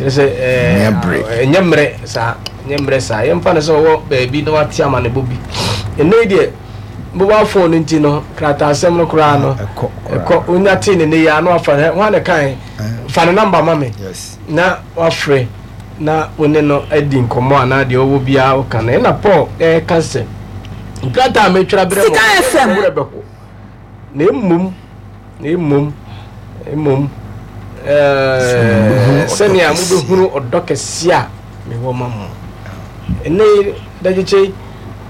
Kyerɛ sɛ ɛnyɛ mmerɛ saa, ɛnyɛ mmerɛ saa. Yɛmfa no sɛ ɔwɔ baabi na wate amanebɔ bi. Ɛnnɛ yi deɛ mobile phone no nti no, krataasɛm no koraa no ɛkɔ. Wonya tee ne nne yi a na wafa no, hwan na ɛkae? Fa ne namba ma me na wafrɛ na wo ne no adi nkɔmmɔ anaa deɛ ɔwɔ biara woka no. Ɛna Paul ɛreka sɛ, nkrataa a metwerɛ abrɛ mo no, mo werɛ bɛho. Na mmom, na mmom, mmom, ɛɛ, sɛnea mobɛhunu ɔdɔ kɛseɛ a mewɔ ma mo. Ɛnnɛ yi, dagyekye yi,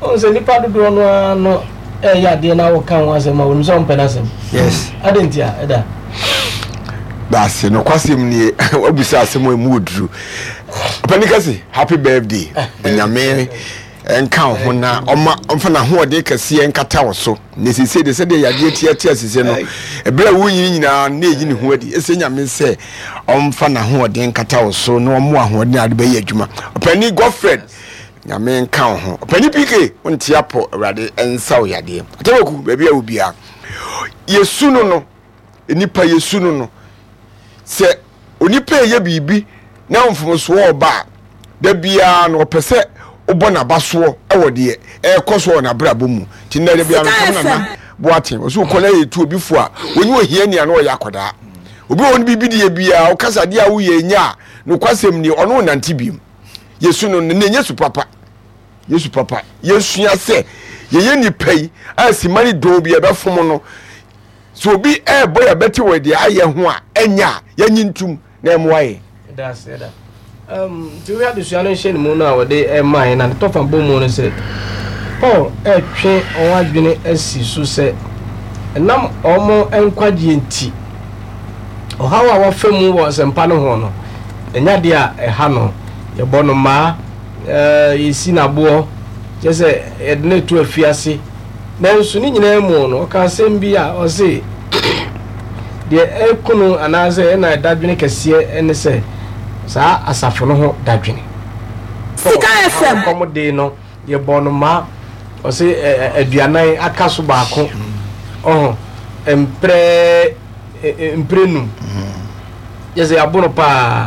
ɔhu sɛ nnipa dodoɔ no ara no ɛyɛ adeɛ na woka ho asɛm a wɔnim sɛ wɔmpɛ no asɛm. Yes. Adɛn nti a ɛda? Baase nokwasɛm nie, wabusa asɛm a ɛmu ɔduru. Ɔpani kɛse, happy birthday. Onyame nka wo ho na ɔma ɔmfa n'ahoɔden kɛseɛ nkata wo so. Na seesei de sɛdeɛ yadeɛ tiatia seesei no, ɛberɛ a wonyini nyinaa na ɛyi ne ho adi. Ɛsɛ Nyame sɛ ɔmfa n'ahoɔden nkata wo so na ɔmo ahoɔden a wode bɛyɛ adwuma. Ɔpani Godfred, Nyame nka wo ho. Ɔpani PK, wonte apɔ, Awurade nsa wo yadeɛ. Atabaku, baabi a wo biara, yɛsu no no, nnipa yɛsu no no, sɛ onipa ɛyɛ biribi na mfomsoɔ ɔba a, da biara no ɔpɛ sɛ wobɔ n'abasoɔ wɔ deɛ ɛrekɔ so wɔ n'abrabɔ mu. Nti nnɛ da biara mekam Nana Boateng, ɔsɛ wokɔ na yɛtu obi fo a, wɔnyɛ ohiani a na ɔyɛ akwadaa. Obi wɔ hɔ no biribi deɛ biara, woka sɛ adeɛ a woyɛ nyɛ a, nokwasɛm nie, ɔno nnante biom. Yɛsu no no, na ɛnyɛ su papa. Yesu papa. Yɛsua sɛ yɛyɛ nnipa yi a sima ne dɔn bi ɛbɛfom no, Sɛ obi rebɔ yɛn abati wɔ deɛ ayɛ ho a, ɛnyɛ a, yɛnye ntom na ɛmmoa yɛn. Ɛda ase ɛda. Um, nti wohwɛ adesua no nhyɛ ne mu no a wɔde ɛma yɛn na ne tɔfa bɔ mu no sɛ Paul ɛretwe wɔn adwene asi so sɛ ɛnam wɔn nkwagyeɛ nti ɔhaw a wɔfa mu wɔ nsɛmpa no ho no ɛnyɛ adeɛ a ɛha no. Yɛbɔ no mmaa, yɛsi no aboɔ, kyerɛ sɛ yɛde no to afiase. Nanso ne nyinaa mu no, ɔka asɛm bi a ɔse, Deɛ ɛku no anaasɛ ɛna dadwene kɛseɛ ne sɛ saa asafo no ho dadwene. Sika FM. Kɔm dee no, yɛbɔɔ no mmaa, ɔse aduanan aka so baako, ɔho, mprɛ mprɛnum. Kyɛ sɛ yɛabo no paa.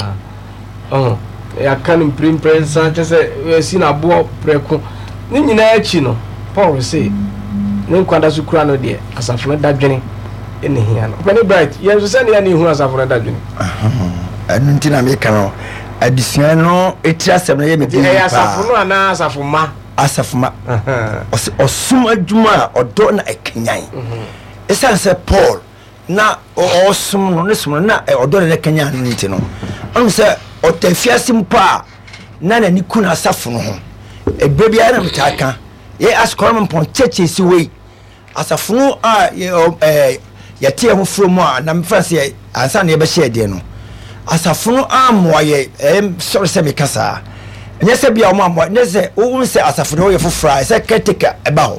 Ɔho, yɛaka no mpremprɛnsa, kyɛ sɛ yɛasi no aboɔ prɛko. Ne nyinaa akyi no, Paul se ne nkwa da so kura no deɛ, asafo no dadwene na ehia no. Ɔpɛni Bright, yɛn nso sɛnea na ehu asafo no dadwene. Ɛno nti na meka no, adesua no etiri asɛm no yɛ me den paa. Ɛyɛ asafo no anaa asafo mma? Asafo mma. Ɔse ɔsom adwuma a ɔdɔ na ɛkanyan. Esiane sɛ Paul na ɔresom no ne som no na ɔdɔ na ɛkanyan no nti no, ɔno sɛ ɔtɔ afiase mpo a na n'ani ku n'asafo no ho. Ɛberɛ biara na metaa ka, yɛ asukɔrɔ mpɔn kyɛkyɛ si wei asafo no a yɛte yɛn ho firi mu a na mefa sɛ ansa na yɛbɛhyɛ deɛ no, asafo no ammoa yɛ. Ɛyɛ sɔre sɛ meka saa, nyɛ sɛ bia wɔn ammoa, nyɛ sɛ wohu sɛ asafo no yɛ foforɔ a ɛsɛ caretaker ɛba hɔ.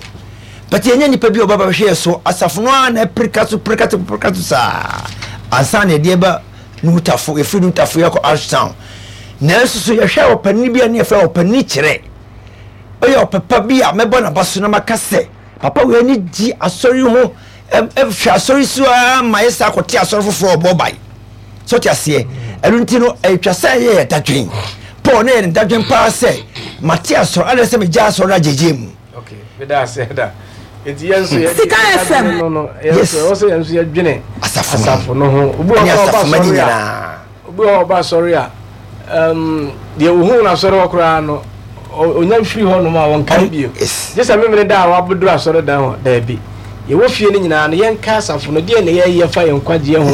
But yɛnyɛ nipa bi a ɔbɛba bɛhwɛ yɛ so. Asafo no ara na ɛpirika so, pirika so, pirika so saa ansa na yɛde ɛba Nutafo. Yɛfiri Nutafo yɛkɔ Ashtown. Nanso so yɛhwɛ ɔpanin bi a ne yɛfrɛ ɔpanin kyerɛ. Ɔyɛ ɔpɛpa bi a mɛbɔ n'aba so na maka sɛ papa wei ani gye asɔre ho, ɛhwɛ asɔre so ara ma yɛ saa kɔte asɔre foforɔ ɔbɔ bae. So te aseɛ. Ɛno nti no ɛtwa sɛ ɛyɛ yɛ dadwen. Paul ne yɛ ne dadwen paa sɛ mate asɔre adɛn sɛ megya asɔre no agyegye mu. Okay, meda ase da. Eti yɛn nso yɛ Sika FM. No no, yɛn nso ɛwɔ sɛ yɛn nso yɛdwene asafo no ho. Obi wɔ hɔ ɔba asɔre a, obi wɔ hɔ ɔba asɔre a, um, deɛ ohun na asɔre hɔ koraa no, onya mfiri hɔ nom a wɔnkae bio. Gye sɛ memene da a wabɛduru asɔre dan hɔ, daabi. Yɛwɔ fie no nyinaa no, yɛnka asafo no, deɛ na yɛyɛ fa yɛn nkwagyeɛ ho,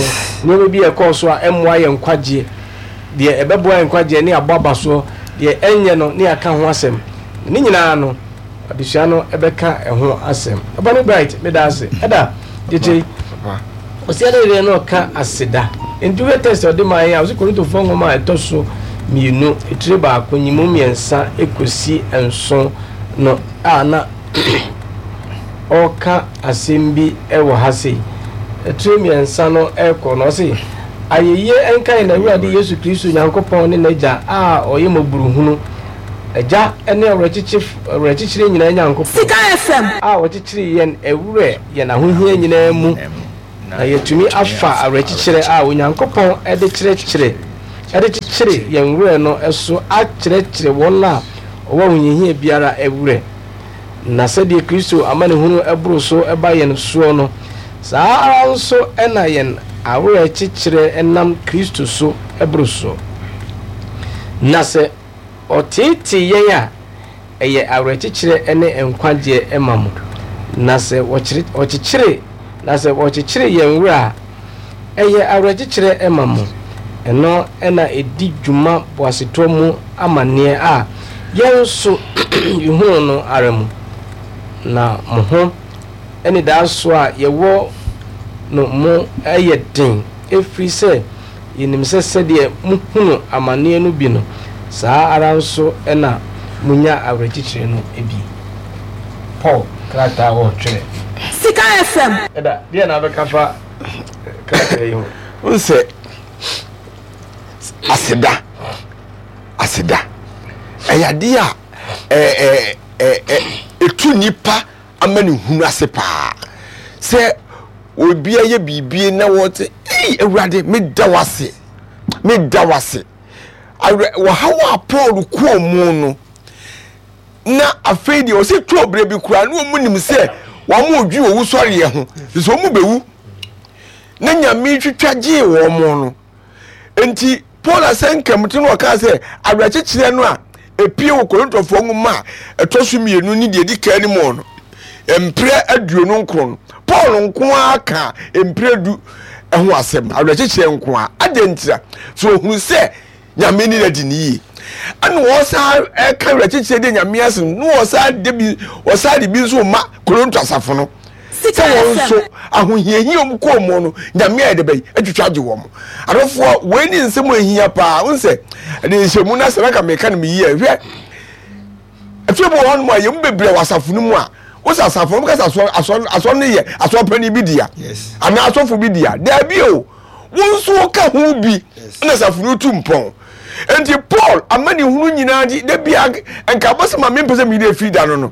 nneɛma bi a ɛkɔɔ so a ɛmmoa yɛn nkwagyeɛ, deɛ ɛbɛboa yɛn nkwagyeɛ ne abɔ aba soɔ, deɛ ɛnyɛ no ne yɛaka ho asɛm. Ne nyinaa no, adesua no bɛka ɛho asɛm. Ɔbɔne Bright, meda ase. Ɛda, gyegye. Ɔsi ɛdɛ deɛ na ɔka aseda. Nti wohwɛ test a ɔde maa yɛn a, ɔsi Korintofoɔ nwoma a ɛtɔ so mmienu, etire baako, nyimu mmiɛnsa ekosi nson no a na ɔreka asɛm bi wɔ ha sei. Etire mmiɛnsa no ɛrekɔ no, ɔsi ayɛyie nka yɛn Awurade Yesu Kristo Nyankopɔn ne n'Agya a ɔyɛ mmɔburuhunu Agya ne awerɛkyekyerɛ nyinaa Nyankopɔn, Sika FM. a ɔkyekyere yɛn werɛ yɛn ahohia nyinaa mu, na yɛatumi afa awerɛkyekyerɛ a Onyankopɔn de kyerɛkyerɛ de kyekyere. akyekyere yɛn werɛ no so akyerɛkyerɛ wɔn a wɔwɔ ahohiahia biara werɛ. Na sɛdeɛ Kristo amanehunu boro so ba yɛn soɔ no, saa ara nso na yɛn awerɛkyekyerɛ nam Kristo so boro soɔ. Na sɛ ɔteetee yɛn a, ɛyɛ awerɛkyekyerɛ ne nkwagyeɛ ma mo, na sɛ wɔkyekyere, na sɛ wɔkyekyere yɛn werɛ a, ɛyɛ awerɛkyekyerɛ ma mo. Ɛno na ɛdi dwuma boasetɔ mu amanneɛ a yɛn nso yɛhunu no ara mu. Na mo ho anidasoɔ a yɛwɔ no mu yɛ den, ɛfiri sɛ Yenim sɛ sɛdeɛ mohunu amaneɛ no bi no, saa ara nso na monya awerɛkyekyerɛ no bi. Paul krataa a ɔretwerɛ. Sika FM. Ɛda, deɛ na wobɛka fa krataa yi ho? Wohu sɛ aseda, aseda, ɛyɛ adeɛ a ɛtu nnipa amanehunu ase paa. Sɛ obi ayɛ biribi na wɔte, ei Awurade, meda wo ase, meda wo ase. Awerɛ, wɔhaw a Paul kɔɔ mu no, na afei deɛ ɔsɛ tɔɔ berɛ bi koraa na wɔn nim sɛ wɔn redwi owusɔreɛ ho, sɛ wɔn bɛwu. Na Nyame twitwa gyee wɔn no. Enti Paul asɛnka mu ti no ɔkaa sɛ awerɛkyekyerɛ no a epue wɔ Korintofoɔ nwoma a ɛtɔ so mmienu ne deɛ ɛdi kan no mu no, mprɛ 29 no, Paul nko ara ka mprɛ du ho asɛm, awerɛkyekyerɛ nko ara. Adɛn ntira? So ohunu sɛ Nyame ne no adi ne yie. Ɛna ɔsan ɛka awerɛkyekyerɛ de Nyame ase no, na ɔsan de bi, ɔsan de bi nso ma Korinto asafo no. Sɛ wɔn nso, ahohiahia a wɔkɔɔ mu no, Nyame ayɛ dɛ bɛn atwitwa agye wɔn. Adɔfoɔ, wei ne nsɛm a ɛhia paa. Wohu sɛ, ɛde nhyɛmu no asɛ na nka meka no me yie. Hwɛ, afei bi wɔ hɔnom a yɛn mu bebree wɔ asafo no mu a, wo sɛ asafo no, wɔka sɛ asɔre, asɔre, asɔre no yɛ asɔre panin bi dea, anaa asɔfo bi dea. Daabi o, wo nso woka ho bi na asafo no tu mpɔn. Enti Paul amanehunu nyinaa nti, da bia nka abɔsɛm a mempɛ sɛ meyere afiri da no no,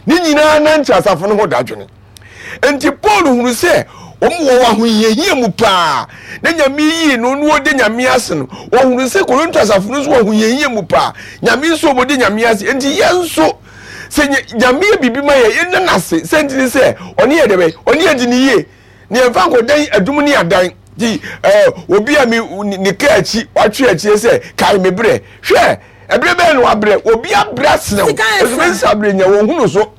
Ne nyinaa na nkyɛ asafo no ho dadwene. Enti Paul hunu sɛ wɔn wɔ ahohiahia mu paa, na Nyame yii no na ɔde Nyame ase no, ɔhunu sɛ Korinto asafo no nso wɔ ahohiahia mu paa, Nyame nso wɔde Nyame ase. Enti yɛn nso, sɛ Nyame yɛ biribi ma yɛn, yɛnna no ase. Sɛ nti ne sɛ, ɔne yɛ dɛbɛn? Ɔne yɛ di ne yie. Na yɛmfa nkɔdan adum ne adan. Nti ɛɛ obi a mi ne kaa akyi watwe akyire sɛ kae me brɛ. Hwɛ! Ɛberɛ bɛn na wabrɛ? Obi abrɛ asene wo. Nso me nsa abrɛ nya wɔn hunu so.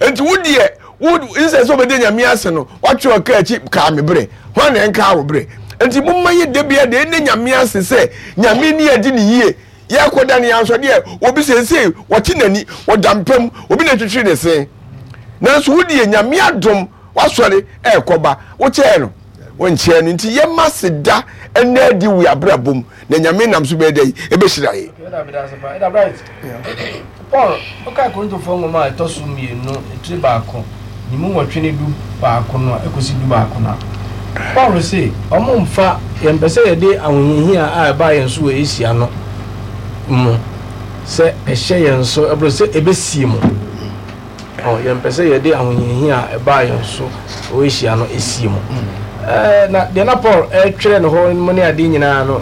Nti wo deɛ wo nsɛ sɛ ɔbɛdi nyame ase no watwe ɔka akyi kaa me brɛ. Hwan na ɛnkaa wo brɛ? Nti momma yɛ da biara deɛ ɛnɛ nyame ase sɛ nyame ni adi ne yie. Yɛkɔ da ne yɛn deɛ obi seesei wɔte n'ani wɔda mpa mu obi na twitwiri ne se. Nanso wo deɛ nyame adom wasɔre ɛrekɔba wokyɛɛ no wonkyɛɛ no nti yɛma seda ɛnɛ adi wo abrabɔ mu. Na Nyame nam so bɛyɛ dɛn? Ɛbɛhyira yɛn. Okay, ɛda meda ase paa. Ɛda Bright. Paul, wokae Korintofoɔ nwoma a ɛtɔ so mmienu, etire baako, ne mu nwɔtwe ne 11 no a, ɛkɔsi 11 no a, Paul se, wɔmfa, yɛmpɛ sɛ yɛde ahohiahia a ɛbaa yɛn so wɔ Asia no mu sɛ ɛhyɛ yɛn so, ɛboro sɛ ɛbɛsie mu. Ɔ, yɛmpɛ sɛ yɛde ahohiahia a ɛbaa yɛn so wɔ Asia no sie mu. Ɛɛ, na deɛ na Paul retwerɛ no hɔ mu ne adeɛ nyinaa no,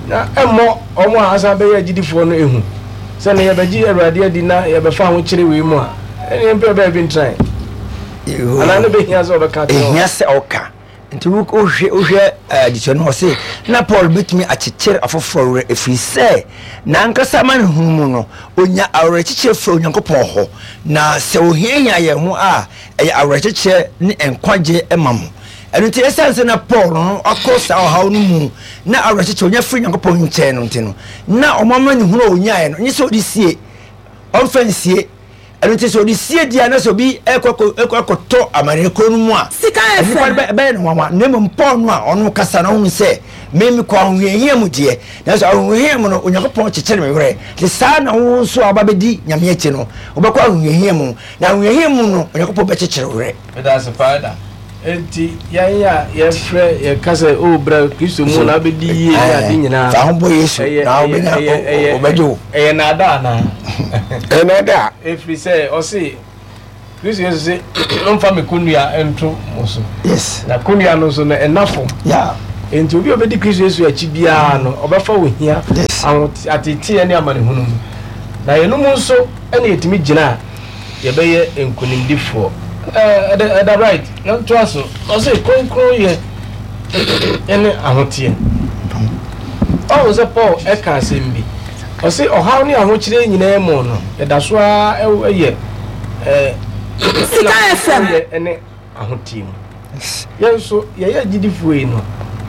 na ɛmmɔ wɔn a asan bɛyɛ agyidifoɔ no ehu. Sɛ ne yɛbɛgye Awurade adi na yɛbɛfa ahokyere wei mu a, ɛne yɛmpɛ baabi ntrae. Anaa ne bɛhia sɛ ɔbɛka akyerɛ wɔn. Ɛhia sɛ ɔka. Nti wohwɛ wohwɛ adesua no ɔse na Paul betumi akyekyere afoforɔ werɛ ɛfiri sɛ n'ankasa amanehunu mu no ɔnya awerɛkyekyerɛ firi Onyankopɔn hɔ na sɛ ɔhiahia yɛn ho a ɛyɛ awerɛkyekyerɛ ne nkwagye ma mo. Ɛno nti ɛsiane sɛ na Paul no akɔ saa ɔhaw no mu na awerɛkyekyerɛ ɔnya firi Nyankopɔn nkyɛn no nti no na ɔmo amanehunu a ɔnyaeɛ no nyɛ sɛ ɔde sie ɔmfa nsie Ɛno nti sɛ ɔde sie di a na sɛ obi ɛkɔ akɔtɔ amanneɛ kuro no mu a, nnipa no bɛyɛ no nwanwa. Na mmom Paul no a ɔno kasa no ɔhunu sɛ me mekɔ ahohiahia mu deɛ, nanso ahohiahia mu no Onyankopɔn kyekyere me werɛ. Nti saa na wo nso a woba bɛdi Nyame akyi no, wobɛkɔ ahohiahia mu, na ahohiahia mu no Onyankopɔn bɛkyekyere wo werɛ. Meda ase paa da. Enti yɛn a yɛfrɛ yɛka sɛ o bra Kristo mu na abɛdi yie ne ade nyinaa. Fa ho bɔ Yesu na wobɛnya ɔbɛgye wo. Ɛyɛ naadaa anaa? Ɛyɛ naadaa. Ɛfiri sɛ ɔse Kristo Yesu se momfa me kɔnnua nto mo so. Yes. Na kɔnnua no nso no ɛna fam. Yeah. Enti obi a ɔbɛdi Kristo Yesu akyi biara no, ɔbɛfa ohia, ateeteeɛ ne amanehunu mu. Na yɛn mu nso na yɛtumi gyina a, yɛbɛyɛ nkonimdifoɔ. Ɛda ɛda right, yɛntoa so. Ɔse kronkronyɛ ne ahoteɛ. Ɔhu sɛ Paul ɛka asɛm bi. Ɔse ɔhaw ne ahokyerɛ nyinaa mu no, yɛda so ara yɛ Sika FM. Kronkronyɛ ne ahoteɛ mu. Yɛn nso, yɛyɛ agyidifoɔ yi no,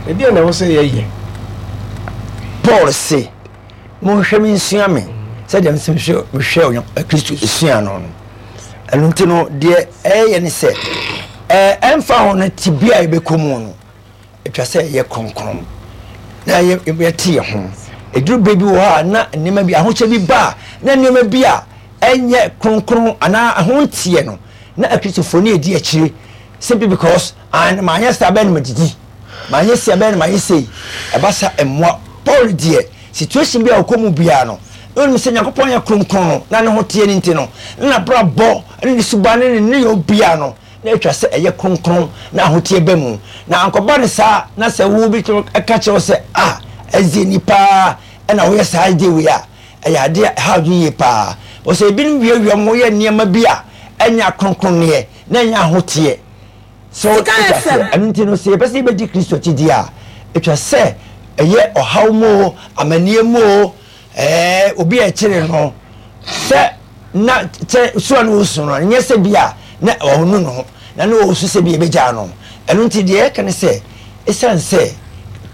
ɛdeɛn na ɛwɔ sɛ yɛyɛ? Paul se, Monhwɛ me nsua me sɛdeɛ mesɛ mehwɛ mehwɛ Onyank Kristo sua no no. Ɛno nti no, deɛ ɛyɛ ne sɛ, ɛɛ ɛmfa ho no tebea a yɛbɛkɔ mu no, atwa sɛ yɛyɛ kronkron na yɛte yɛn ho. Ɛduru berɛ bi wɔ hɔ a na nneɛma bi ahokyɛ bi ba a na nneɛma bi a ɛnyɛ kronkron anaa ɛho nteɛ no na Akristofoɔ no ɛdi akyire simply because and maanyɛ saa bɛyɛ no madidi maanyɛ sei bɛyɛ no mayɛ sei ɛba sa mmoa Paul deɛ situation bi a ɔkɔ mu biara no na onim sɛ Nyankopɔn yɛ kronkron no na ne ho teɛ no nti no na n'abrabɔ ne ne suban ne ne nneyɛɛ biara no na etwa sɛ ɛyɛ kronkron na ahoteɛ ba mu. Na ankɔba no saa na sɛ wo bi ka kyerɛ wo sɛ, Ah, ɛdze ni paa na woyɛ saa ade wei a, ɛyɛ ade a ɛhaw adwene yie paa. Wɔ sɛ ebinom wiawia wɔn ho yɛ nneɛma bi a ɛnyɛ akronkronneɛ na ɛnyɛ ahoteɛ. So wote aseɛ? Ɛno nti no, sɛ yɛpɛ sɛ yɛbɛdi Kristo akyi deɛ a, etwa sɛ ɛyɛ ɔhaw mu oo, amanneɛ mu oo, ɛɛ, obi a ɛkyere no sɛ na kyɛ su a na ɔresu no, ɛnyɛ sɛ bi a na ɔnu ne ho, na na ɔresu sɛ bi ɛbɛgyaa no. Ɛno nti deɛ yɛka ne sɛ, ɛsiane sɛ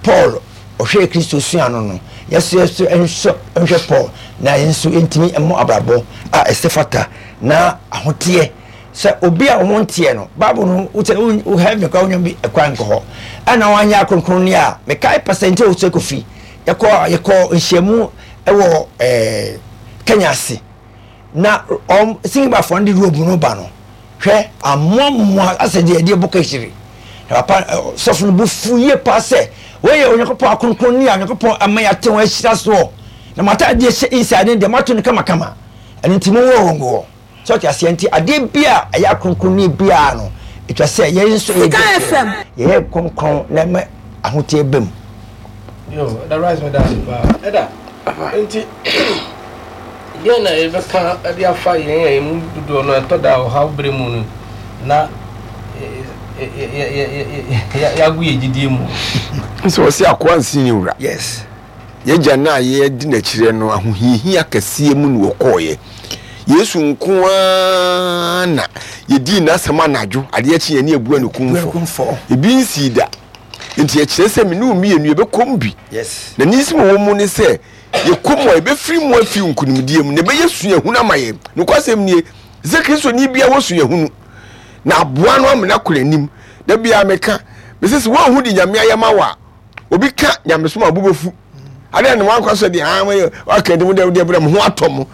Paul ɔhwɛɛ Kristo sua no no, yɛso yɛso nhwɛ nhwɛ Paul na yɛn nso yɛntumi mmɔ abrabɔ a ɛsɛ fata na ahoteɛ sɛ obi a wɔn nteɛ no Bible no wosɛ wo heaven koraa wonya bi ɛkwan nkɔ hɔ ɛna wanyɛ akronkronne a mekae pastor nti ɔsɛ kofi yɛkɔ yɛkɔ nhyiamu ɛwɔ ɛɛ Kenya ase na ɔm singibafoɔ no de robe no ba no hwɛ amoamoa asɛ deɛ ɛdeɛ bɔ kahyire na papa sɔfo no bo fu yie paa sɛ wɔyɛ Onyankopɔn akronkronne a Onyankopɔn ama yɛate wɔn ahyira soɔ na mo ataadeɛ hyɛ inside no deɛ moato no kamakama ɛno nti monwɔ wɔn gu hɔ sɛ ɔte aseɛ nti adeɛ bi a ɛyɛ akronkronne biara no ɛtwa sɛ yɛn nso yɛ yɛyɛ kronkron na ɛma ahoteɛ ba mu. Yo, ɛda rice meda ase paa. Ɛda, nti deɛ na yɛbɛka de afa yɛn a yɛn mu dodoɔ no ɛtɔ da ɔhaw berɛ mu no na yɛago yɛ gyidie mu. Sɛ wɔsi akoa nsi ne wura. Yes. Yɛgya no a yɛdi n'akyirɛ no ahohiahia kɛseɛ mu na wɔkɔɔeɛ. Yesu nko ara na yɛdii n'asɛm anadwo adeɛ kye yɛne abua no kumfɔ. Ebi nsii da. Nti ɛkyerɛ sɛ me ne wo mmienu yɛbɛkɔ mu bi. Na ne nsɛm a ɛwɔ mu ne sɛ yɛkɔ mu a yɛbɛfiri mu afi nkonimdie mu na ɛbɛyɛ suahunu ama yɛn. Nokwasɛm nie, sɛ Kristoni biara wɔ suahunu na aboa no amena kɔ n'anim. Da biara meka, mese sɛ woanhu de Nyame ayɛ ma wo a, obi ka nyamesom a bo bɛfu. Adɛn na wankɔ sɛ deɛ ah waka nti mo deɛ deɛ mo ho atɔ mo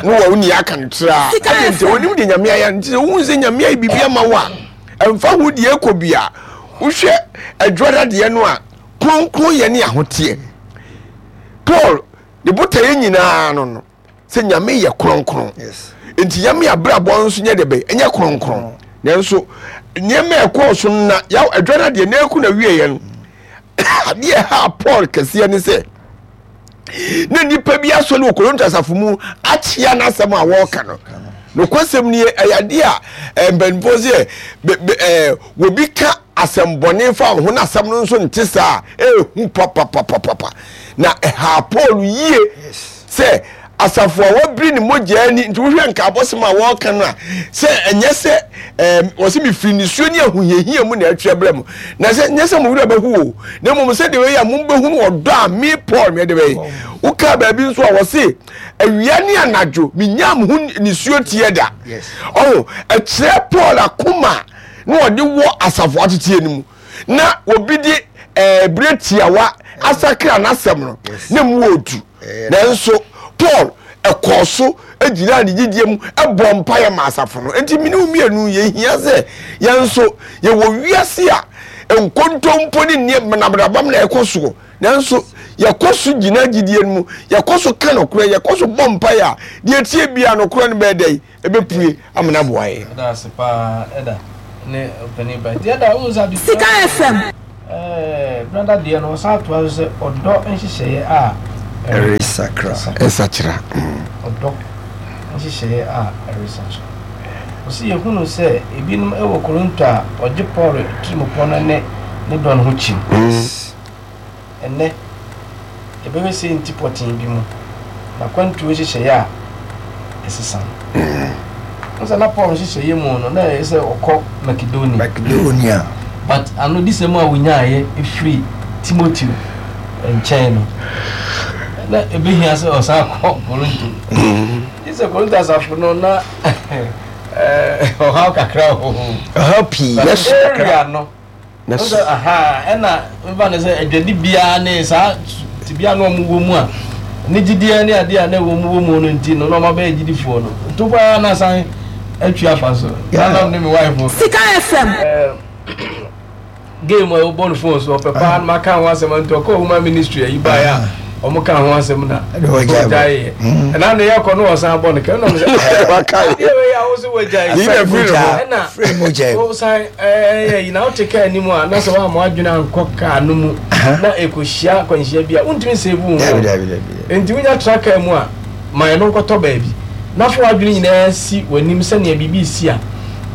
ne wɔ wo nea aka no traa. Adɛn nti onim deɛ Nyame ayɛ nti sɛ wohu sɛ Nyame ayɛ biribi ama wo a ɛmfa ho deɛ ɛkɔ bi a wohwɛ adwuada deɛ no a kronkron yɛ ne ahoteɛ. Paul ne botaeɛ nyinaa no no sɛ Nyame yɛ kronkron nti Nyame abrabɔ nso nyɛ de bɛ ɛnyɛ kronkron nanso nneɛma ɛkɔɔ so no na yaw adwuada deɛ na ɛkɔ na wieɛ no adeɛ ɛha Paul kɛseɛ ne sɛ na nnipa bi asɔre wɔ Korinto asafo mu akyea n'asɛm a wɔreka no nokwasɛm nie ɛyɛ adeɛ a eh, mpanimfoɔ sɛ eh, wɔbi ka asɛmbɔne fa wo ho na asɛm no nso nte saa a ɛhu papapapapa na ɛha Paul yie sɛ asafo a wɔabiri ne mogya ani nti wohwɛ nkaabɔsɛm a wɔreka no a sɛ ɛnyɛ sɛ ɛɛm wɔsɛ mefiri nisuo ne ahohiahia mu na ɛtwerɛ brɛ mo na sɛ nyɛ sɛ mo werɛ bɛho o na mmom sɛ deɛ ɛyɛ a mobɛhunu ɔdɔ a me Paul mede bɛyɛ wokaa baabi nso a wɔse awia ne anadwo menyaa mo ho nisuo teɛ da ɔho ɛkyerɛ Paul akoma na ɔde wɔ asafo ateteɛ no mu na obi de ɛɛ berɛ tiawa asakra n'asɛm no na mu wɔ odu nanso paul ɛkɔɔ so gyinaa ne gyidie mu ɛbɔ mpaeɛ ma asafo no nti mene wo mmienu yɛhia sɛ yɛn nso yɛwɔ wiase a nkontompo ne nneɛma nabrabam na ɛkɔ soɔ nanso yɛkɔ so gyina gyidie no mu yɛkɔ so ka nokorɛ yɛkɔ so bɔ mpaeɛ a deɛ tie biara nokorɛ no bɛyɛ dɛn ɛbɛpue amena aboa yɛn. Ɛda ase paa ɛda ne ɔpanin ba nti ɛda wohu sɛ adesua Sika FM. Brada deɛ no ɔsan toa so sɛ ɔdɔ nhyehyɛeɛ a ɛresakra. Ɛsakyera. Ɔdɔ nhyehyɛeɛ a ɛresakyera. Ɔsi yɛhunu sɛ ebinom wɔ Korinto a wɔgye Paul tirimupɔ no ne ne dɔ no ho kyim. Ɛnnɛ, yɛbɛhwɛ sei nti pɔtee bi mu, n'akwantuo nhyehyɛeɛ a ɛsesa no. Wohu sɛ na Paul nhyehyɛeɛ mu no, na ɛyɛ sɛ ɔkɔ Makedonia. Makedonia. But anodisɛm a wɔnyaeɛ firi Timoteo nkyɛn no, na ɛbɛhia sɛ ɔsan kɔ Korinto. Gye sɛ Korinto asafo no na ɔhaw kakra wɔ hɔ. Ɔhaw pii. But area no, Sɛ ahaa ɛna mfa no sɛ adwadi biara ne saa tebea no ɔmo wɔ mu a ne gyidiɛ ne adeɛ a na ɛwɔ mu wɔ mu no nti no na ɔmo abɛyɛ gyidifoɔ no nto paa na san atwi afa so saa na ne me wife Sika FM. Game a wɔbɔ no phone so ɔpɛ paa no maka ho asɛm nti ɔkɔ human ministry ayi baeɛ a wɔn ka ho asɛm na ɔgyaeɛ ɛna ne yɛkɔ no ɔsan bɔ no kɛ ɛna sɛ adeɛ wei a wo so wagyae ɛna wosan ɛyɛ yi na wote kaa anim a na sɛ woamma adwene ankɔ kaa no mu na ɛkɔhyia akwanhyia bi a wontumi nsave wo ho nti wonya tra kaa mu a ma ɛno nkɔtɔ baabi na fa w'adwene nyinaa si w'anim sɛnea biribi si a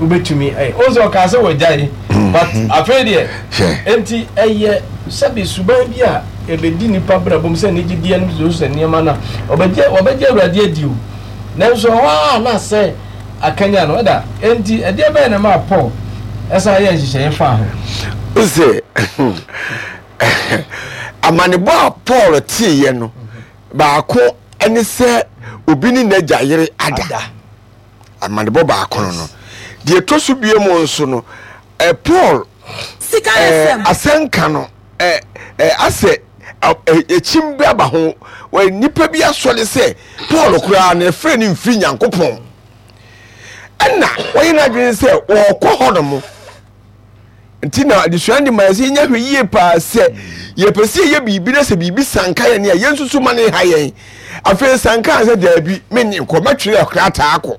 wobɛtumi ɛyɛ wo sɛ ɔkaa sɛ wagyae but afei deɛ enti ɛyɛ sɛbe suban bi a ɛbɛdi nnipa brabɔ mu sɛ anigyedeɛ no so sɛ nneɛma no a ɔbɛgye wɔbɛgye Awurade adi o nanso ɛhɔ ara na sɛ akanyan no ɛda enti ɛdeɛ bɛyɛ na ɛmaa Paul ɛsan yɛ nhyehyɛeɛ faa ho. Sɛ amanebɔ a Paul teeɛ no baako ne sɛ obi ne n'agya yere ada. Amanebɔ baako no no. Deɛ ɛtɔ so bio mu nso no, Paul asɛnka no asɛ ɛkyim bi aba ho. Nnipa bi asɔre sɛ Paul koraa no ɛfrɛ no mfiri Nyankopɔn. Ɛna wɔyɛ n'adwene sɛ wɔkɔ hɔ nom. Nti na adesua no de ma yɛ sɛ yɛnya hwɛ yie paa sɛ yɛpɛ sɛ yɛyɛ biribi na sɛ biribi sanka yɛn a yɛnsusu ma ne ha yɛn. Afei sanka sɛ daabi menye nkɔ mɛtwerɛ krataa akɔ.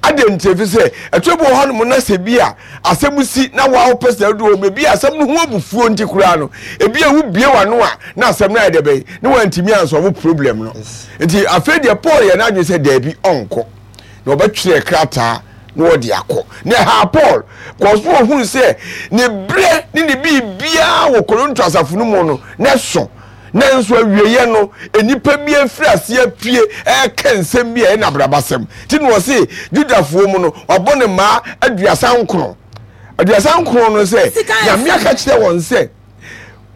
Adɛn nti ɛfiri sɛ ɛtɔ bi wɔ hɔnom na sɛ bi a asɛm si na woa wopɛ sɛ wode wɔ ebi asɛm no ho abufuo nti koraa no ebi a wobie w'ano a na asɛm no ayɛ dɛ bɛn na wantumi ansɔvo problem no. Nti afei deɛ Paul yɛ n'adwene sɛ daabi ɔnkɔ na ɔbɛtwerɛ krataa na ɔde akɔ. Na ɛhaa Paul, kɔɔ so ɔhunu sɛ ne berɛ ne ne biribiara wɔ Korinto asafo no mu no, na ɛso. Nanso awieeɛ no, nnipa bi afiri aseɛ apue reka nsɛm bi a ɛyɛ nabrabasɛm. Nti na ɔse Judafoɔ mu no, wabɔ ne mmaa 39. 39 no sɛ, Nyame aka kyerɛ wɔn sɛ,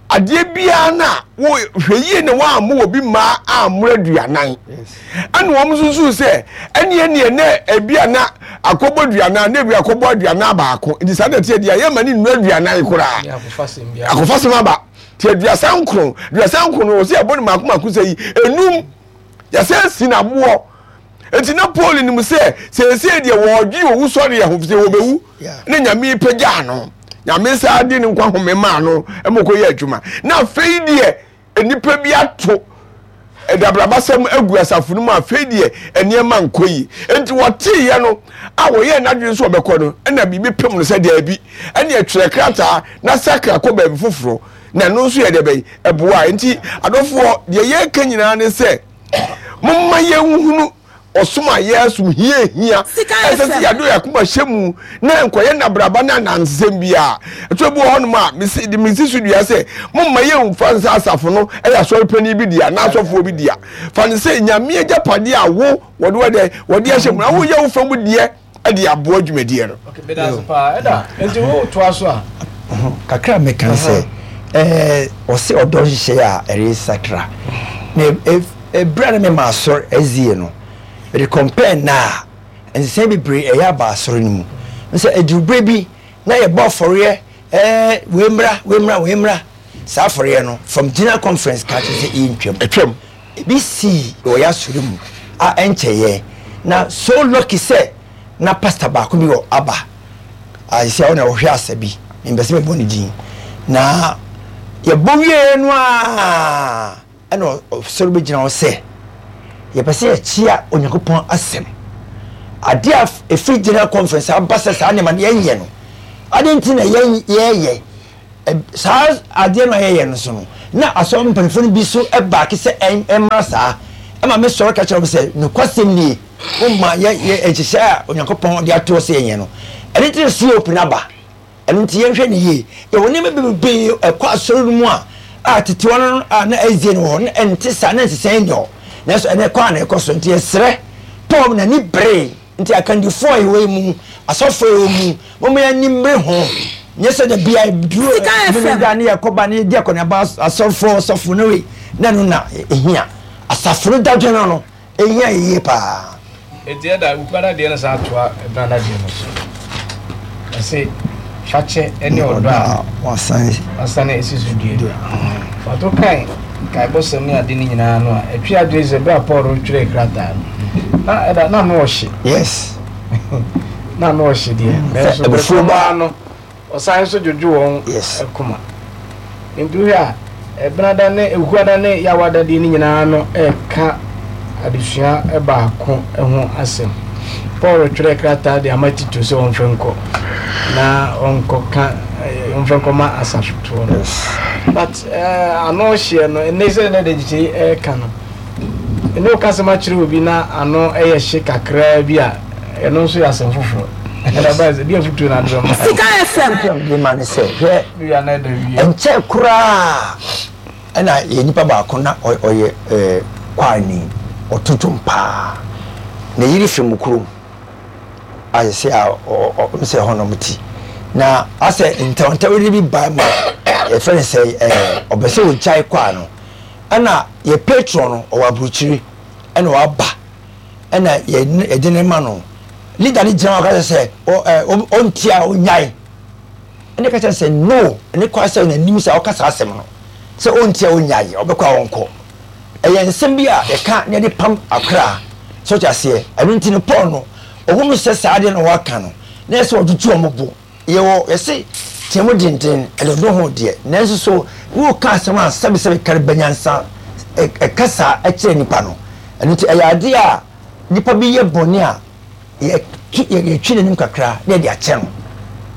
adeɛ biara no a wo hwɛ yie na woammɔ obi mmaa ammoro aduanan. Ɛna wɔn nso suu sɛ ɛneɛ neɛ na ebi a na akɔbɔ aduanan na ebi akɔbɔ 41 nti saa na ɛteɛ deɛ yɛma ne nnuru 40 koraa. Akɔfasɛm aba. Nti 39 39 no wɔsɛ yɛbɔ no mako mako sɛ yi enum yɛsɛ si na aboɔ. Nti na Paul nim sɛ seesei deɛ wɔredwe owusɔreɛ ho sɛ wɔbɛwu na Nyame pagyaa no. Nyame saa de ne nkwa home maa no ma ɔkɔyɛ adwuma. Na afei deɛ nnipa bi ato dabrabasɛm agu asafo no mu afei deɛ nneɛma nkɔ yi. Nti wɔteeɛ no a wɔyɛɛ n'adwene sɛ ɔbɛkɔ no ɛna biribi pem no sɛ daabi ɛne ɛtwerɛ krataa na sakra kɔ baabi foforɔ na ɛno nso yɛ deɛ bɛyi ɛboa. Nti adɔfoɔ deɛ yɛreka nyinaa ne sɛ Momma yɛnhunu ɔsom a yɛresom hia hia. Ɛsɛ sɛ yɛde yɛn akoma hyɛ mu na nkɔyɛ nnabraba ne anansesɛm biara. Ɛtɔ bi wɔ hɔnom a, mesi de mesi so dua sɛ momma yɛmfa nsɛ asafo no yɛ asɔre panyin bi dea anaa asɔfoɔ bi dea. Fa no sɛ Nyame agyapadeɛ a wo wɔde wɔde wɔde ahyɛ mu na woyɛ wo fa mu deɛ de aboa dwumadie no. Okay, meda ase paa. Ɛda, nti wo toa so a. Kakra a mɛka ne sɛ, ɛɛ ɔse ɔdɔ nhyehyɛeɛ a ɛresakra. Na ɛberɛ a na mema asɔre SDA no, mede compare nnɛ a, nsesaeɛ bebree ɛyɛ aba asɔre no mu. Sɛ ɛduru berɛ bi na yɛbɔ afɔreɛ, ɛɛ wei mmra, wei mmra, wei mmra. Saa afɔreɛ no, from general conference ka kyerɛ sɛ ɛntwam. Ɛtwam. Ebi sii wɔ y'asɔre mu a ɛnkyɛeɛ na so lucky sɛ na pastor baako bi wɔ aba a sisi a ɔna ɔhwɛ asa bi mempɛ sɛ mebɔ ne din na yɛbɔ wieɛ no a ɛna ɔsɔre bɛgyina hɔ sɛ yɛpɛ sɛ yɛkyea Onyankopɔn asɛm adeɛ a ɛfiri general conference aba sɛ saa nneɛma no yɛnyɛ no adeɛ nti na yɛyɛ. Saa adeɛ no a yɛyɛ no so no, na asɔre mpanimfoɔ no bi so baake sɛ ɛmmra saa. Ɛma me sɔre ka kyerɛ wɔn sɛ, nokwasɛm nie, momma yɛ yɛ nhyehyɛe a Onyankopɔn de ato hɔ sɛ yɛnyɛ no. Ɛno nti na COP no aba. Ɛno nti yɛnhwɛ no yie. Yɛwɔ nneɛma bebree ɛkɔ asɔre no mu a a tete hɔ no a na SDA no wɔ hɔ no ɛnte saa, na nsesaeɛ nni hɔ. Nanso ɛnɛ kɔ a na ɛkɔ so. Nti yɛsrɛ Paul n'ani beree. Nti akandifoɔ a yɛwɔ yi mu, asɔfoɔ a yɛwɔ mu, momma yɛn ani mmere ho. Nyɛ sɛ da biara duru Memeneda ne yɛkɔba ne yɛdi akɔneaba asɔfoɔ, ɔsɔfo no wei, na ɛno na ɛhia. Asafo no dadwene no no, ɛhia yɛ yie paa. Enti ɛda Wukuada deɛ no san toa Ɛbenada deɛ no so. Ɛse fakyɛ ne ɔdɔ a wɔasane asi so dua. Fa to kan nkaebɔsɛm ne ade no nyinaa no a, ɛtwe adwene sɛ bere a Paul retwerɛ krataa no, na ɛda na ano ɔhye. Yes. Na ano ɔhye deɛ, nanso bere koro no ara no, Ɔsan nso dwodwo wɔn Yes. koma. Enti wohwɛ a, Ɛbenada ne Ɛwukuada ne Yawada deɛ no nyinaa no reka adesua baako ho asɛm. Paul twerɛɛ krataa de ama Tito sɛ ɔmfa nkɔ na ɔnkɔka eh, ɔmfa nkɔma asafotoɔ no. Yes. But eh, ano hyeɛ no, ɛnnɛ sɛ na Dagyekye ɛreka no, ɛne woka asɛm akyerɛ obi na ano yɛ hye kakraa bi a, ɛno nso yɛ asɛm foforɔ. Sika FM. Afotu a mede ma ne sɛ, hwɛ, ɛnkyɛe koraa ɛna yɛ nipa baako na ɔyɛ ɛɛ kwaani, ɔto dwom paa. Ne yere firi mo kurom a sɛ a ɔ sɛ ɛhɔ na ɔmo ti. Na asɛ ntawntawdi bi baa mu a yɛfrɛ no sɛ ɛɛ ɔbɛ sɛ ɔgyae kwaa no. Ɛna yɛ patron no ɔwɔ aburukyiri ɛna waba. ɛna yɛde no ma no. Leader no gyina hɔ ka kyerɛ sɛ ɔntie a ɔnyae. Ɛna ka kyerɛ sɛ no, ɛne kwan sɛ n'anim sɛ ɔka saa asɛm no sɛ ɔntie a ɔnyae, ɔbɛkɔ a ɔnkɔ. Ɛyɛ nsɛm bi a yɛka na yɛde pam akra. So ɔte aseɛ? Ɛno nti no Paul no, ɔhunu sɛ saa adeɛ na wɔaka no, na ɛsɛ sɛ ɔtutu wɔn bo. Yɛwɔ, yɛse teɛ mu denden, ɛde ɔdɔ ho deɛ, nanso so woreka asɛm a sɛbesɛbe kari ba nyansa ɛkasa kyerɛ nipa no? Ɛno nti ɛyɛ adeɛ a nipa bi yɛ bɔne a yɛtu yɛtwe n'anim kakra na yɛde akyɛ no.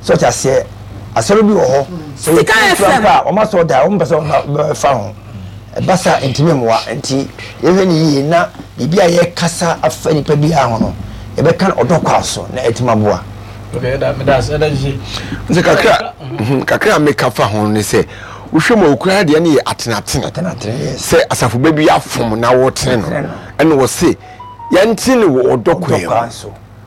So ɔte aseɛ? Asɔre bi wɔ hɔ, sɛ Sika yɛtu FM. mpo a, wɔn asɔre da, wɔn mpɛ sɛ wɔbɛfa ho. Ɛba saa a, ɛntumi mmoa. Nti yɛhwɛ no yie na biribi a yɛkasa afa nipa biara ho no, yɛbɛka no ɔdɔ kwan so na atumi aboa. Nti kakra mhm, kakra a meka fa ho ne sɛ wohwɛ mu a okura deɛ no yɛ atenatene sɛ asafo ba bi afom na wɔtene no ɛna wɔse yɛntene no wɔ ɔdɔ kwan mu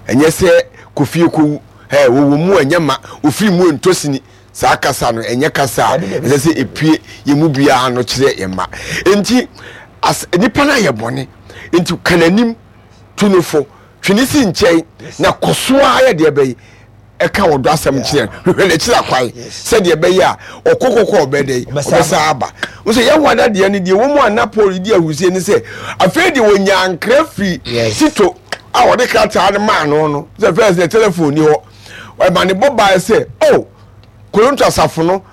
ɛnyɛ sɛ kofie kowu ɛ wɔwɔ mu ɛnyɛ ma ofiri mu ntɔ sini saa kasa no ɛnyɛ kasa a ɛsɛ sɛ epue yɛn mu biara no kyerɛ yɛn ma nti as nipa no ayɛ bɔne nti ka n'anim tu no fo Twe ne si nkyɛn na kɔ so ara yɛ deɛ ɛbɛyɛ ɛka ɔdɔ asɛm kyerɛ no hwehwɛ n'akyiri akwan sɛdeɛ ɛbɛyɛ a ɔkɔ kɔkɔ ɔbɛ dɛ ɔbɛsa aba wo sɛ yɛn wada deɛ no deɛ wɔ mu a na Paul di ahurusie ne sɛ afei deɛ wɔnya nkra firi Tito a wɔde krataa no maa no no sɛ fɛs deɛ telefon ni hɔ ɛma ne bɔ baeɛ sɛ oh Korinto asafo no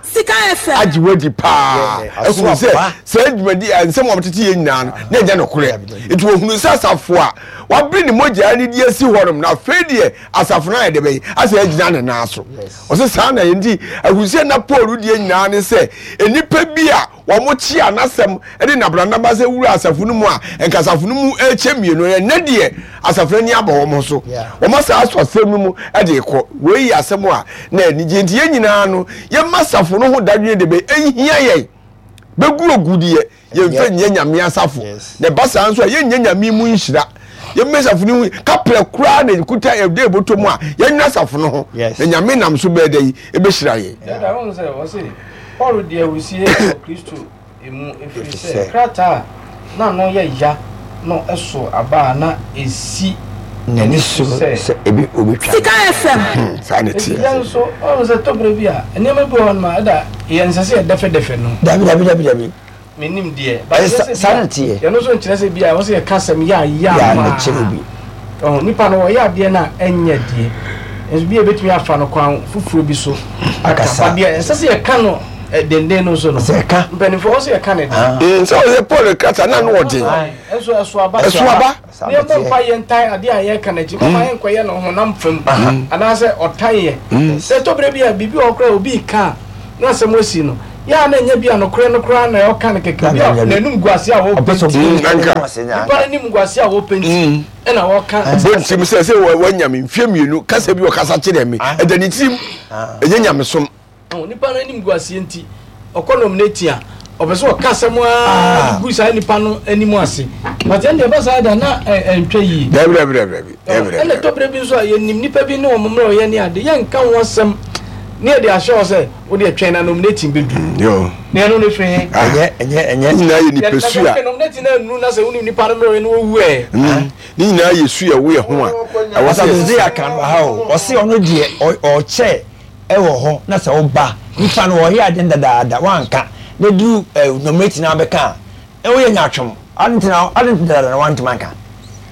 agye wadi paa ahunu sɛ saa dwumadi a nsɛm a wɔtete yɛ nyinaa no na ɛnyɛ nokorɛ. Nti wɔhunu sɛ asafo a wabere ne mogya ne di asi hɔnom na afei deɛ asafo no ayɛ de bɛyi asɛ agyina ne nan so. Ɔsɛ saa na yɛ nti ahunu na Paul deɛ nyinaa ne sɛ nnipa bi a wɔkyea n'asɛm de nabranaba sɛ wura asafo no mu a nka asafo no mu rekyɛ mmienu ɛnɛ deɛ asafo no ani abɔ wɔn so wɔn asa asɔ asɛm no mu de kɔ wei yɛ asɛm a na anigye nti yɛn nyinaa no yɛma asafo no ho dadwene de bɛ ɛhia yɛn bɛgu ogu deɛ yɛmfa nyɛ nyame asafo na ɛba saa nso a yɛnyɛ nyame mu nhyira yɛmmɛ asafo no ho kaprɛ koraa na ɛkuta ɛde ɛbɔtɔ mu a yɛnyɛ asafo no ho na nyame nam so bɛɛ dɛ yi ɛbɛhyira yɛn. Paul dii ahurusi wɔ Kristo mu ɛfiri sɛ krataa a na ano yɛ ya no soo aba a na ɛsi n'ani so sɛ Sika FM. Saa na Enti ɛteɛ. yɛn nso, woahu sɛ tɔ berɛ bi a, nneɛma bi wɔ hɔnom a, ɛda yɛ ɛnsɛ sɛ yɛdɛfɛdɛfɛ no. Dabi dabi dabi dabi. Mennim deɛ, but Ɛyɛ ɛnyɛ sa sɛ saa bi na a, ɛteɛ. yɛno nso nkyerɛ sɛ bi a ɛwɔ sɛ yɛka asɛm yɛ a yɛ Yɛ a ama na kyerɛ obi. Ɔho, nipa no ɔyɛ adeɛ no a ɛnyɛ deɛ, nso bi a yɛbɛtumi afa no kwan foforɔ bi so aka. Akasa. But deɛ ɛnsɛ sɛ yɛka no eh, denden no nso no, Sɛ ɛka. mpanimfoɔ wɔ sɛ yɛka no den. Ah. Sɛ ɔyɛ Paul krataa na ano ɔden. Ae, ɛnso ɛso aba. Ɛso aba. Saa Na na yɛmmɔ ɛteɛ. mpa yɛ ntan adeɛ a yɛreka no akyi, mama yɛnkɔyɛ no honam fam anaasɛ ɔtan yɛ. Sɛ ɛtɔ berɛ bi a biribi wɔ hɔ koraa a obi reka a, na asɛm asi no, yɛ a na ɛnyɛ bi a nokorɛ no koraa na ɔka no kɛkɛ, obi a n'anum gu ase a wɔpɛ nti, nipa n'anim gu ase a wɔpɛ nti ɛna ɔka. Ɔbɔ ne tirim sɛ sɛ wanya me mfeɛ mmienu kasa bi ɔkasa kyerɛ me ɛda ne tirim ɛnyɛ nyamesom. Nipa no anim gu aseɛ nti ɔkɔ nominate a ɔpɛ sɛ ɔka asɛm ara gu saa nipa no anim ase but ɛnde ɛba saa da na ɛntwa yie. Dabi dabi dabi dabi. Ɛna ɛtɔ berɛ bi nso a yɛnim nipa bi ne wɔn mmerɛ ɔyɛ ne ade yɛnka ho asɛm ne yɛde ahyɛ hɔ sɛ wode ɛtwɛn na nominating bɛdu. Na ɛno ne firi he. Ɛnyɛ ɛnyɛ ɛnyɛ. Ne nyinaa yɛ nipa su a. Nominating na nnuru na sɛ wonim nipa no mmerɛ ɔyɛ no wɔwu ɛ. Ne nyinaa yɛ su a ɛwɔ yɛ ho a ɛwɔ sɛ. Ɔsɛ Hosea kan wɔ ha o ɔse ɔno deɛ ɔkyɛ wɔ hɔ na sɛ woba nipa no ɔyɛ ade no dadaada wanka na duru nominate na abɛka a woyɛ nyaatwom ade nti na ade nti dadaada na wantumi anka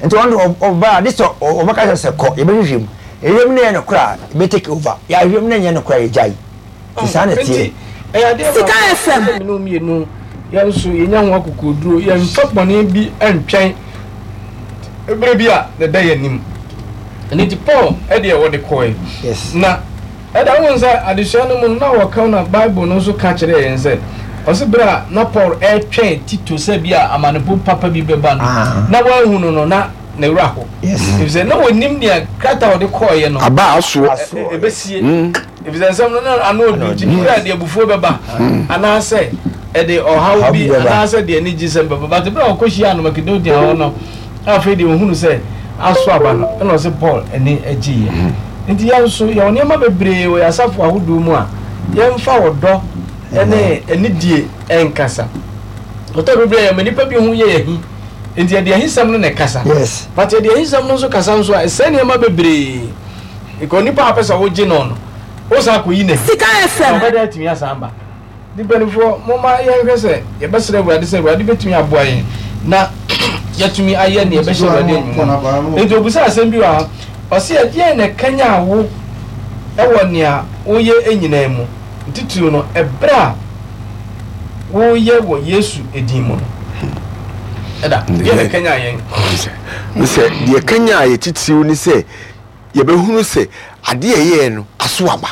nti ɔno de ɔba a de sɛ ɔbɛka sɛ sɛ kɔ yɛbɛhwehwɛ mu yɛhwehwɛ mu na ɛyɛ nokorɛ a yɛbɛ take over yɛahwehwɛ mu na ɛnyɛ nokorɛ a yɛgyae nti saa na ɛteɛ. Sika FM. Mene mmienu yɛn nso yɛnya ho akokoɔduro yɛmfa bɔne bi ntwɛn berɛ bi a na ɛda yɛn anim. Ɛno nti Paul deɛ wɔde kɔe. Na ɛda wohu sɛ adesua no mu no na wɔka na Bible no nso ka kyerɛɛ yɛn sɛ ɔse berɛ a na Paul ɛretwɛn Tito sɛ bi a amanebɔ papa bi bɛba no ah. na wanhu no no na ne werɛ aho efisɛ na wɔnim nea krataa a ɔde kɔeɛ no aba asoɔ ɛbɛsie mm. Efisɛ nsɛm no na ano ɔduru nti, bere a ɛde abufuo bɛba, anaasɛ ɛde ɔhaw bi, anaasɛ ɛde anigyesɛm bɛba. But bere a ɔkɔhyiaa no Makedonia hɔ no, afei deɛ ɔhunu sɛ aso aba no, ɛna ɔse Paul ani gyeeɛ. Nti yɛn nso, yɛwɔ nneɛma bebree wɔ yɛn asafo ahodoɔ mu a yɛmfa ɔdɔ ne anidie nkasa. Ɔtɔ bere bi a yɛma nnipa bi ho yɛ yɛn ahi, nti yɛde ahisɛm no na ɛkasa. But yɛde ahisɛm no nso kasa nso a, ɛsɛe nneɛma bebree. Because nipa a wopɛ sɛ wogye no no, wosan akɔyi no ahi. Sika FM. Na ɔbɛda atumi asan aba. Nti mpanimfoɔ, momma yɛnhwɛ sɛ yɛbɛsrɛ Awurade sɛ Awurade bɛtumi aboa yɛn na yɛatumi ayɛ nea ɛbɛhyɛ Awurade animuonyam. Nti ɔbisaa asɛm bi wɔ ha, ɔse ɛdeɛn na ɛkanyan wo wɔ nea woyɛ nyinaa mu, titiriw no ɛberɛ a woyɛ wɔ Yesu din mu no? Ɛda, deɛ na ɛkanyan yɛn? Sɛ deɛ ɛkanyan yɛ titiriw ne sɛ yɛbɛhunu sɛ adeɛ a ɛyɛɛ no aso aba.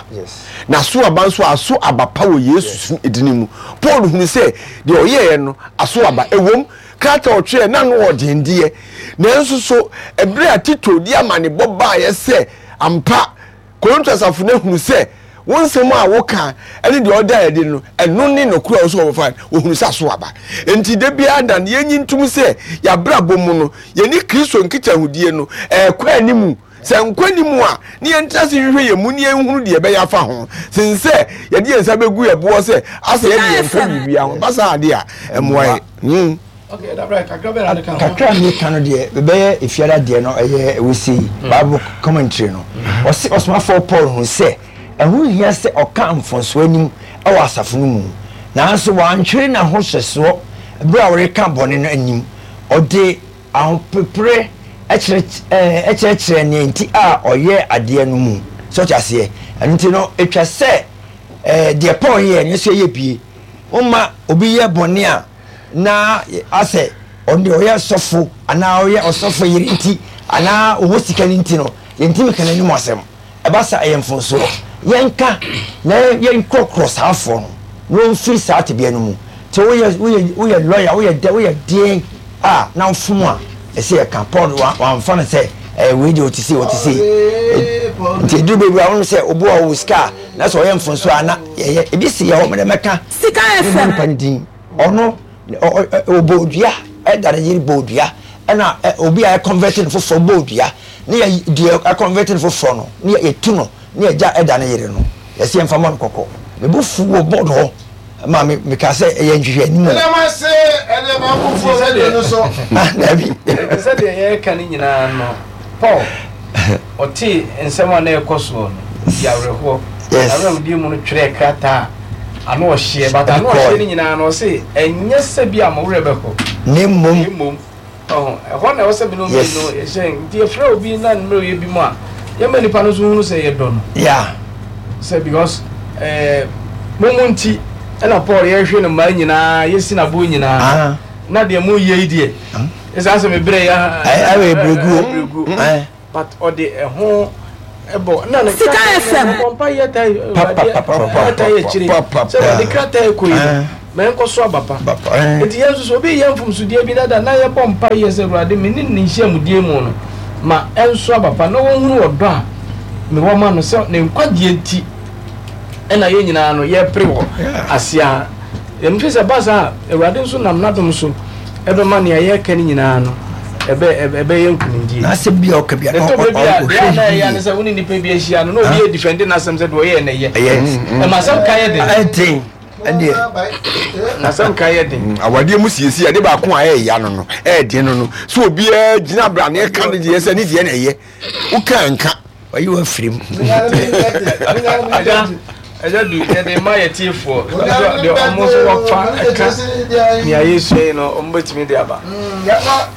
Na aso aba nso aso aba pa wɔ Yesu dini mu. Paul hunu sɛ deɛ ɔyɛɛ no aso aba. Ɛwom, krataa a ɔtwerɛɛ na ano ɔden deɛ, nanso so ɛberɛ a Tito de amanebɔ baeɛ sɛ ampa Korinto asafo no ahunu sɛ wo nsɛm a woka ne deɛ ɔda adi no, ɛno ne nokorɛ a ɔsɛ wɔfa no, wɔhunu sɛ aso aba. Enti da biara da no, yɛnyi ntom sɛ yɛabrabɔ mu no, yɛne Kristo nkitahodie no ɛrekɔ anim. Sɛ nkɔ anim a, ne yɛntena ase nhwehwɛ yɛn mu ne yɛnhunu deɛ ɛbɛyɛ afa ho, sen sɛ yɛde yɛn nsa bɛgu yɛn boɔ sɛ asɛ yɛde yɛn mfa biribiara ho. Ba saa adeɛ a, ɛmmoa yɛn. Kakra a meka no deɛ bɛyɛ efiada deɛ no ɛyɛ wosei hmm. Bible commentary no hmm. ɔse ɔsomafoɔ Paul hu sɛ ɛho hia sɛ ɔka mfomsoɔ anim wɔ asafo no mu nanso wantwere n'ahohyɛsoɔ berɛ a ɔreka bɔne no anim ɔde ahopepere kyerɛkyerɛ nea nti a ɔyɛ adeɛ no mu sɛ ɔte aseɛ ɛno nti no ɛtwa sɛ deɛ Paul yɛ no nso yɛ bie woma obi yɛ bɔne a na asɛ ɔno deɛ ɔyɛ sɔfo anaa ɔyɛ ɔsɔfo yere nti anaa ɔwɔ sika no nti no yɛntumi ka n'anim asɛm ɛba sa ɛyɛ mfonsoɔ yɛnka na yɛnkorɔkorɔ saa afoɔ no na wɔmfiri saa tebea no mu nti woyɛ woyɛ woyɛ lɔya woyɛ dɛ woyɛ deɛn a na wofom a ɛsɛ yɛka Paul wamfa no sɛ ɛyɛ wei deɛ ɔte sei ɔte sei nti ɛduru baabi a wonom sɛ obi a ɔwɔ sika a na sɛ ɔyɛ mfonsoɔ a na yɛyɛ ebi si yɛ hɔ mede mɛka Sika FM. Nipa no din. Ɔno ɔbɔ dua ɛda ne yere bɔ dua ɛna obi a ɛconvert no foforɔ bɔ dua ne yɛ deɛ ɛconvert no foforɔ no ne yɛ tu no ne yɛ gya ɛda ne yere no yɛsi yɛn fa mɔ no kɔkɔ me bo fu wɔ board hɔ ma me me ka sɛ ɛyɛ nhwehwɛ anim o. Ɛdɛm ase ɛdeɛ baako fo radio no so. Ah dabi. Ɛte sɛ deɛ yɛreka no nyinaa no Paul ɔtee nsɛm a na ɛrekɔ soɔ no, ɔdii awerɛhoɔ. N'awerɛhodie mu no twerɛɛ krataa a ano ɔhyeɛ, but ano ɔhyeɛ no nyinaa no ɔse ɛnyɛ sɛ bi a mo werɛ bɛho, na mmom, na mmom, ɔho, ɛhɔ na ɛwɔ sɛ binom mmienu yɛhyɛ, nti yɛfrɛ obi na ne mmerɛwyɛ bi mu a, yɛma nipa no nso hunu sɛ yɛdɔ no. Yeah. Sɛ because eh, mo mo nti ɛna Paul yɛhwe no mmaa nyinaa, yɛsi n'aboɔ nyinaa, ah. na deɛ moyɛ yi deɛ, ɛsan sɛ mebrɛ ya ɛwɛ brɛguo but ɔde ɛho Ɛbɔ na ne Sika FM. Ɔbɔ mpa yɛ ta Awurade ta yɛ akyire sɛ Awurade krataa ɛkɔ yi no ma ɛnkɔ so aba pa. Eti yɛn nso so obi yɛ mfomsodeɛ bi dada na yɛbɔ mpa yɛ sɛ Awurade me ne ne nhyiamudie mu no ma ɛnso aba pa na wɔnhunu ɔdɔ a mewɔ ma no sɛ ne nkwagyeɛ nti ɛna yɛn nyinaa no yɛpere wɔ aseɛ ha. Yɛmfe sɛ ɛba saa a, Awurade nso nam n'adom so ɛbɛma nea yɛreka no nyinaa no ɛbɛ ɛbɛyɛ nkunimdie. N'asɛm bi a ɔka bi a na Ɛtɔ bɛ bi a, ɔhwɛ deɛ a na ɛyɛ ne yie. sɛ wo ne nipa bi ahyia no na obi yɛ defende n'asɛm sɛ deɛ ɔyɛɛ na ɛyɛ. Ɛyɛ. Ɛma asɛm ka yɛ den. Ɛden ɛdeɛ. N'asɛm ka yɛ den. Awadeɛ mu siesie ade baako a ɛyɛ no no ɛyɛ no no so obiara gyina abira ne ɛka ne deɛ sɛ ne deɛ na ɛyɛ woka nka. Wayi wo afiri mu. Agya, agya du yɛde ma yɛ tiefoɔ deɛ ɔmo nso wɔfa ɛka nea yɛsua yi no ɔmo bɛtumi de aba. Yɛma.